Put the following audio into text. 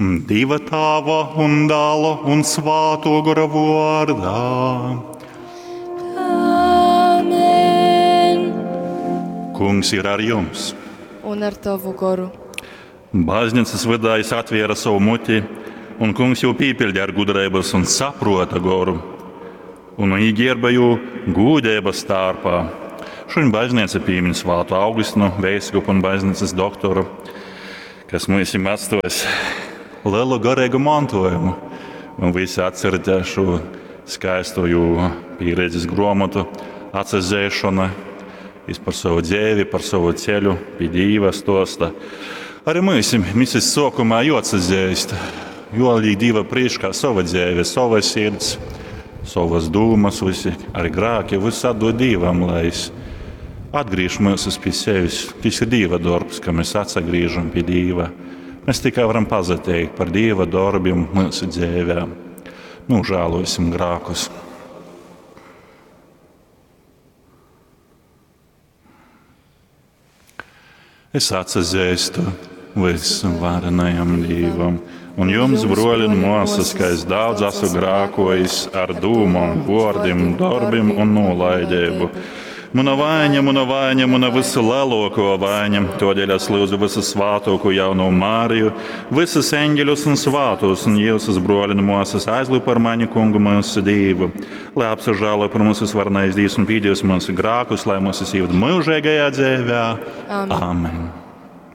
Dieva Tāva un Dāla un Svāto Gora vārdā. Amen. Kungs ir ar jums. Un ar tavu goru. Baznīcas vydā jis atvēra savu muti, un kungs jū pīpildīja ar gudrības un saprota goru, un īģērba jū gūdības tārpā. Šodien baznīca piemin svātu Augustinu, veiskupu un baznīcas doktoru, kas mums ir atstājis lielu garīgu mantojumu. Un visi atceraties šo skaisto jū pieredzes grāmatu atsazēšana. Jis par savu dzīvi, par savu ceļu pie Dieva stosta. Arī mēs misijas sākumā jāatsazīst, jo liek Dieva priekšā sava dzīve, sava sirds, savas dūmas, visi arī grēki, viss atdod Dievam, lai es atgriež mūsus pie sevis. Tas ir Dieva darbs, ka mēs atsagriežam pie Dieva. Mēs tikai varam pazateikt par Dieva darbiem mūsu dzīvē. Nožēlosim grēkus. Es atsazīstu visvarenajam Dievam un jums, broļi un māsas, ka es daudz esmu grēkojis ar dūmām, vārdiem, darbiem un nolaidību. Mana vaina, mana vaina, mana vislielāko vaina, todēļ es lūdzu visu svātāko jauno Māriju, visus eņģeļus un svātos un jūsus broļi un māsas aizlūg par mani kungu mūsu Dievu, lai apsažālo par mūsu svarenais Dievs un pīdījus mūsu grēkus, lai mūs ieved mūžīgajā dzīvē. Amen. Amen.